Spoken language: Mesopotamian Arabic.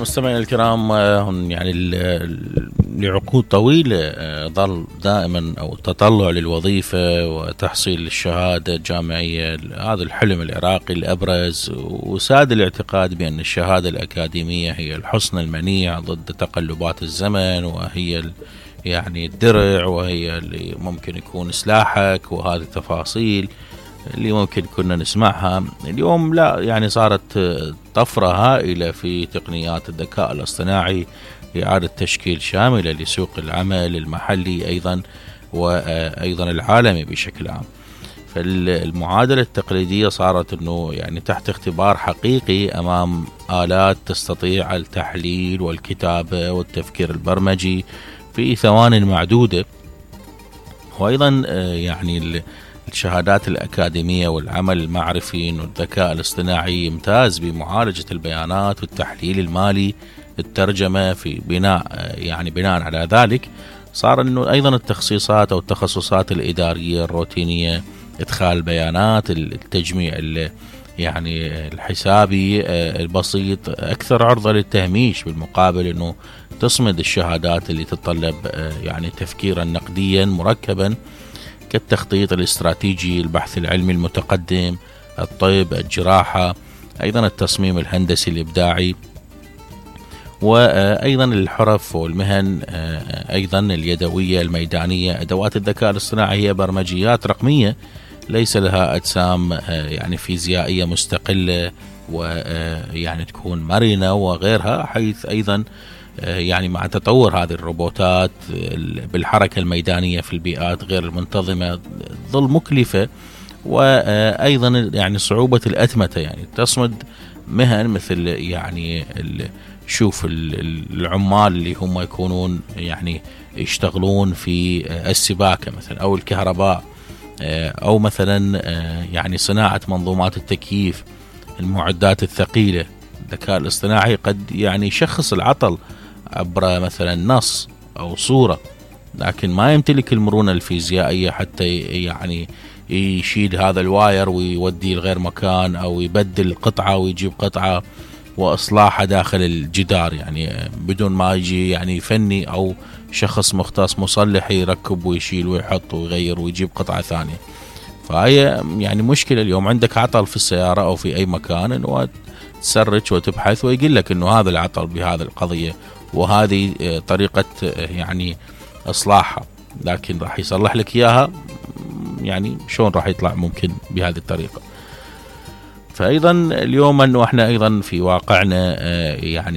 مستمعينا الكرام، يعني لعقود طويلة ظل دائما أو التطلع للوظيفة وتحصيل الشهادة الجامعية، هذا الحلم العراقي الأبرز، وساد الاعتقاد بأن الشهادة الأكاديمية هي الحصن المنيع ضد تقلبات الزمن، وهي يعني الدرع، وهي اللي ممكن يكون سلاحك، وهذه التفاصيل اللي ممكن كنا نسمعها. اليوم لا، يعني صارت طفرة هائلة في تقنيات الذكاء الاصطناعي، إعادة تشكيل شاملة لسوق العمل المحلي أيضا وأيضا العالمي بشكل عام. فالمعادلة التقليدية صارت أنه يعني تحت اختبار حقيقي أمام آلات تستطيع التحليل والكتابة والتفكير البرمجي في ثوان معدودة. وأيضا يعني الشهادات الأكاديمية والعمل المعرفي إنه الذكاء الاصطناعي يمتاز بمعالجة البيانات والتحليل المالي، الترجمة في بناء على ذلك صار إنه أيضا التخصيصات أو التخصصات الإدارية الروتينية، إدخال البيانات، التجميع يعني الحسابي البسيط أكثر عرضة للتهميش، بالمقابل إنه تصمد الشهادات اللي تتطلب يعني تفكيرا نقديا مركبا كالتخطيط الاستراتيجي، البحث العلمي المتقدم، الطب، الجراحة، أيضا التصميم الهندسي الإبداعي، وأيضا الحرف والمهن أيضا اليدوية الميدانية. أدوات الذكاء الاصطناعي هي برمجيات رقمية ليس لها أجسام يعني فيزيائية مستقلة ويعني تكون مرنة وغيرها، حيث أيضا يعني مع تطور هذه الروبوتات بالحركة الميدانية في البيئات غير المنتظمة ظل مكلفة، وأيضا يعني صعوبة الأتمتة، يعني تصمد مهن مثل يعني شوف العمال اللي هم يكونون يعني يشتغلون في السباكة مثلا أو الكهرباء، أو مثلا يعني صناعة منظومات التكييف، المعدات الثقيلة. الذكاء الاصطناعي قد يعني يشخص العطل عبر مثلا نص أو صورة، لكن ما يمتلك المرونة الفيزيائية حتى يعني يشيل هذا الواير ويوديه لغير مكان، أو يبدل قطعة ويجيب قطعة وإصلاحها داخل الجدار، يعني بدون ما يجي يعني فني أو شخص مختص مصلح يركب ويشيل ويحط ويغير ويجيب قطعة ثانية. فهي يعني مشكلة اليوم عندك عطل في السيارة أو في أي مكان، إنه تسرج وتبحث ويقول لك إنه هذا العطل بهذا القضية وهذه طريقة يعني إصلاحها، لكن راح يصلح لك إياها يعني شلون راح يطلع ممكن بهذه الطريقة. فأيضا اليوم أنه احنا أيضا في واقعنا يعني